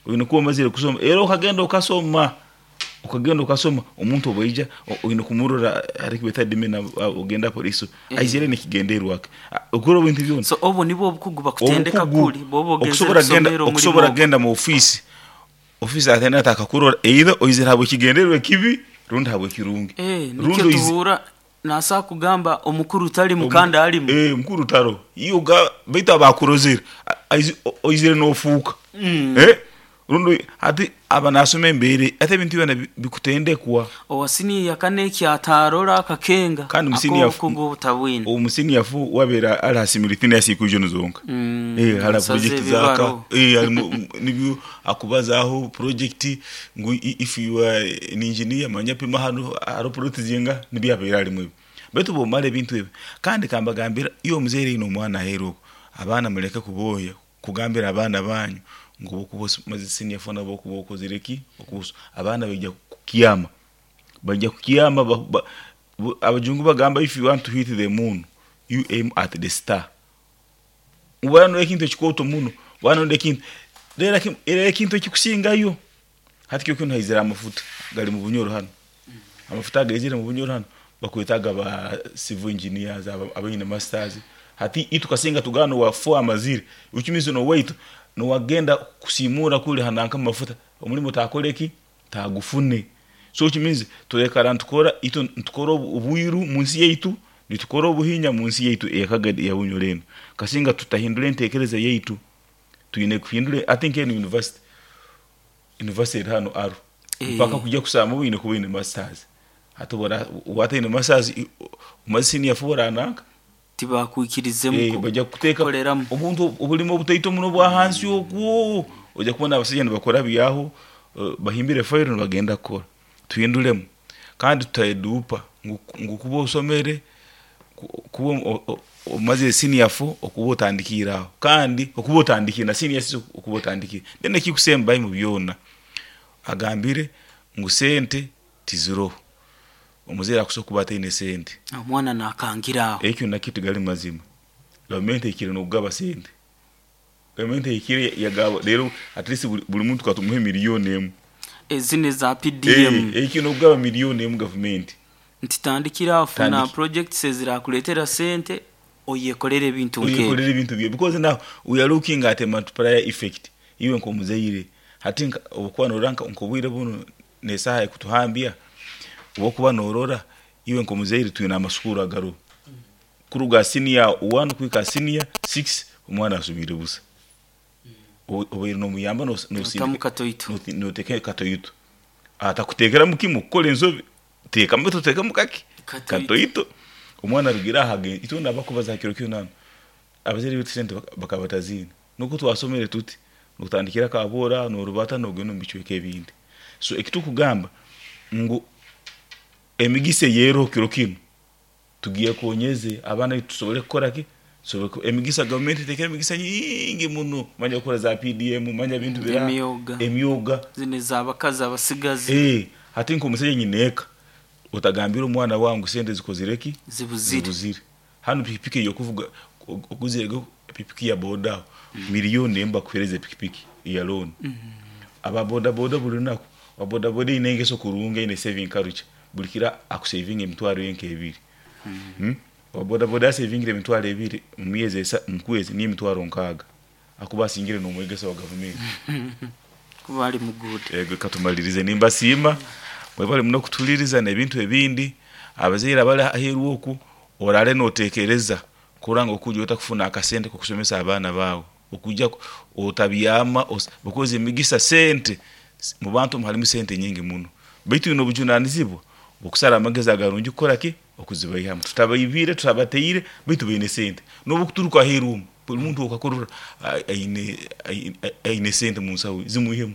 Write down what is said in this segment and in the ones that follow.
Oine kuba omazire kusoma era okagenda okasoma, okagenda okasoma omuntu obu aija oine kumurora hali ekibeeta demeanour ogenda police aizire nekigendererwa ki okora ebintu byona. So obu nibwo obukugu bakutendeka Obukugu kuli bwoba ogenzere okusobora kugenda kusomera omulimo okusobora ogu. kugenda mu ofiisi, ofiisi atenda atakakurora either oizire habw'ekigendererwa ekibi rundi habw'ekirungi Eh, rundi nikyo oizi tuhuura nasobola kugamba omukuru talimu kandi alimu. Eh, omukuru taroho iwe oga baitu aba akurozere oizire nofuuka eh, rundi hati aba nasoma embeera hati ebintu byona bikutendekwa. Owa siniya eyakana eki ataarora akakenga Kandi mu senior ak'obukugu obutabwine. omu senior four wabeera ali ha simultaneous hasi equation zonka eh, hali ha Asaza project zaka ebibaro. eh, halimu nibyo akubazaaho project ngu if you are an engineer manya pima hanu hariho plot zingaha nibyo abaire arimu ebyo. Baitu bwomara ebintu ebi kandi kambagambire iwe omuzaire oine omwana aheeru oku abaana muleke kubooya kugambira abaana banyu ngu obu okuba omazire senior four nabwo okuba okozire ki abaana baija kukyama baija kukyama abajungu bagamba if you want to hit the moon you aim at the star. Waba ekintu ekikooto muno waba ekintu reero ekintu ekikusingayo hati kiro kinu haizire amafuta gari mu Bunyoro hanu amafuta agaizire mu Bunyoro hanu bakwetaaga ba civil engineers abaine masters hati itwe kasinga tugamba nowa four amazire which means nowaitu nowagenda kusiimuura kuri hananka mumafuta omurimo taakore ki taagufune so which means turekara nitukora itwe nitukora obwiru munsi yaitu nitukora obuhinya munsi yaitu eya Kagadi eya Bunyoro enu kasinga tutahindura enteekereza yaitu twine kuhindura hati nk'enu university university eri hanu Arua mpaka kujya kusoma oine kuba oine masters hati obu otaine masters omaze senior four orananka Tibakwikirizemu baija kukuteeka kukoreramu. obuntu obulimo obutaito muno obwa hansi okwo oija kubona abasaija nibakora byaho bahimbire fayiro nibagenda kukora tuhinduremu kandi tutayeduupa ngu kuba osomere kuba omazire senior four okuba otandikiire aho kandi okuba otandikiire na senior six okuba otandikiire then ekikusembayo mu byona agambire ngu sente tiziroho omuzaire akusobola kuba ataine sente. Omwana nakangira aho. Ekyo nakyo tigali mazima gavumenti ehikire n'okugaba sente gavumenti ehikire yagaba reero at least buri muntu katumuhe miliyoni emu. Ezinu eza PDM. Ehikire n'okugaba miliyoni emu gavumenti. Nti tandikira aho funa projects ezirakuleetera sente oyekorere ebintu nk'ebyo. Oyekorere ebintu byawe because now we are looking at a multiplier effect iwe nk'omuzaire hati obu okuba norora nk'obwire bunu n'esaaha ekutuhambya obu okuba norora iwe nk'omuzaire twine amasukuru agaroho kuruga senior one kuhika senior six omwana asomiire busa obaire nomuyamba Notamu katoito. noteekayo katoito atakuteekeramu kimwe kukora ensobi teekamu baitu oteekemu kake katoito omwana arugire aho agende itwe abakubaza ha kiro kinu hanu abazaire baitu sente bakaba bataziine nukwo twasomere tuti notandikira Kaboora norubata nogenda omu bicweka ebindi so ekitukugamba ngu emigisa eyeroho kiro kinu tugyekonyeze abaana baitu tusobole kukora ki emigisa gavumenti etekere emigisa nyingi muno manya okukora za PDM manya ebintu biraha Emyoga. emyoga Zinu ez'abakazi abasigazi. Hati nk'omusaija nyineeka otagambira omwana wawe ngu sente zikozire ki Zibuzire. zibuzire hanu pikipiki ey'okuvuga oguzire pikipiki ya boda aho miliyoni emu bakuhereza epikipiki eya loan aba boda boda buri lunaku owa boda boda eine engeso kurungi eine saving culture buri kiro akusevinga emitwaro ye nk'ebiri owa boda boda asevingire emitwaro ebiri mu myezi mu kwezi niyo emitwaro nkaaga akuba asingire n'omwegesa wa gavumenti. Kuba ali muguuda. Ego katumalirize nimbasiima mwebale muno kutuhuliriza n'ebintu ebindi abazaire abari aheeru oku oraale noteekereza kurora ngu okuija otakufuna akasente k'okusomesa abaana baawe okuija otabyama because emigisa sente mu bantu omu harimu sente nyingi muno baitu oine obujunaanizibwa bw'okusara amagezi agarungi kukora ki okuzibaihamu tutabaibire tutabateire baitu baine sente n'obu okuturuka aheeru omu buri muntu okakurora aine sente mu nsaho ye zimwihemu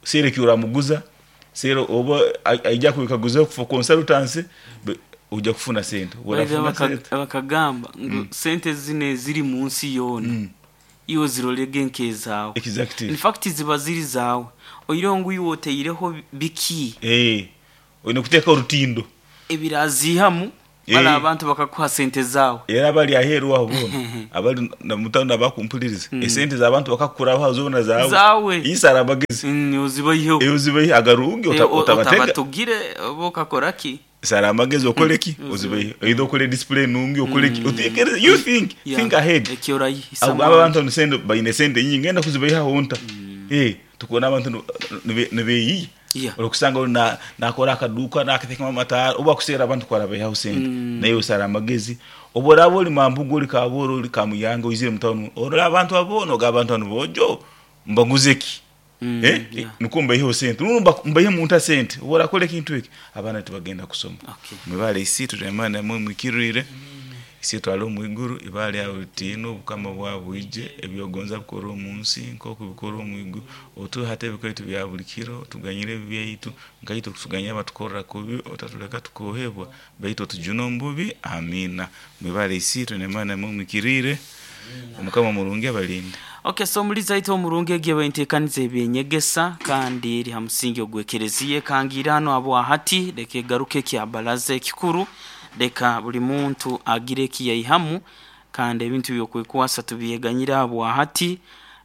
seera eki oramuguza seera oba aija kwekaguza for consultancy oija kufuna sente Baija bakagamba ngu sente zinu eziri mu nsi yoona iwe zirolege nk'ezaawe. Exactly. In fact ziba ziri zaawe oihireho ngu iwe otaireho biki Oine kuteekaho orutindo ebiraziihamu. Bala abantu bakakuha sente zaawe. Era abali aheeru aho boona abali mutawuni abakumpuliriza, esente z'abantu bakakukuraho zoona zaawe. Zaawe. Isara amagezi. Ozibaiheho. Ozibaihe agarungi otabatega. Otabatugire oba okakora ki? Sara amagezi okole ki? Ozibaihe. Oida okole display nungi okole ki? Otekereze, you think, think ahead. Eki orayisa. Abo abantu ni sente, baine sente nyingi, ngenda kuzibaihaho nta? Tukubona abantu nibeeyiya. Orikusanga ori nakora akaduuka nakateekamu amataara, obu akuseera abantu ku arabaihaho sente. Naiwe osara amagezi. Obu oraaba ori Mambugu, ori Kabooro, ori Kamuyanga oizire omu tawuni, orora abantu abo boona ogamba abantu banu boojo mbaguze ki? Nikwo mbaiheho sente. Rundi mbaihemu nta sente? Obu orakora ekintu eki, abaana tibagenda kusoma. Mwebale Isiitwe Turemane namwe mwikirire. Isiitwe ali omu iguru, ibara lyawe litiinwe, obukama bwawe bwije, ebyogonza bikorwe omu nsi nk'oku bikorwa omu iguru. Otuhe hati ebika bya buli kiro, otuganyire ebibi byaitu, nkaitwe okutuganyira abatukorra kubi, otatuleka tukohebwa, baitu otujune omu bubi. Amiina. Mwebale Isiitwe Nemana namwe mwikirire. Omukama omurungi abalinde. Okay, so omulizi aitu omurungi egi eba enteekaniza ebyenyegesa kandi eri ha musingi ogw'ekereziya ekangiire hanu habwa hati. Leka egaruke ekya baraza ekikuru, leka buli muntu agire eki yaihamu kandi ebintu by'okwekwasa tubyeganyire habwa hati,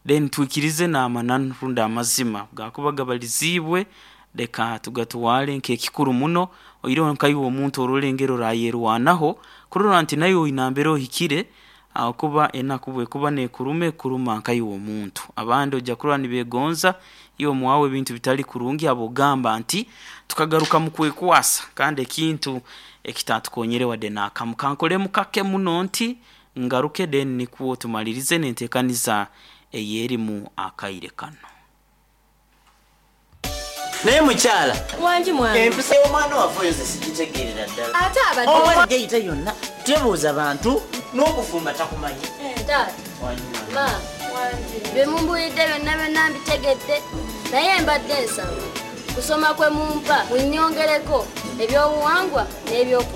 then twikirize n'amananu rundi amazima gakuba gabaliziibwe, leka tugatwale nk'ekikuru muno. Oihireho nkaiwe omuntu orole engeri orayerwanaho kurora nti naiwe oine nambere ohikire, ahakuba enaku bwekuba nekuruma ekuruma nkaiwe omuntu. Abandi ojja kurora nibegonza iwe omwawe ebintu bitali kurungi, habw'okugamba nti tukagaruka mu kwekwasa kandi ekintu ekitatukonyere wadde n'akamu. Kankolemu kake muno nti ngaruke then nikwo tumalirize n'enteekaniza ey'erimu akaire kanu. Naye mukyala. Wangi mwami. Empisa y'omwana waffe oyo nze sigitegeerera ddala. Ate abadde Omwana gyeyita yonna tebuuza bantu n'okufumba takumanyi. Taata. Ma, bye mumbuulidde byonna byonna mbitegedde, naye mbadde nsaba kusoma kwe mumpa munnyongereko ebyobuwangwa n'ebyoku.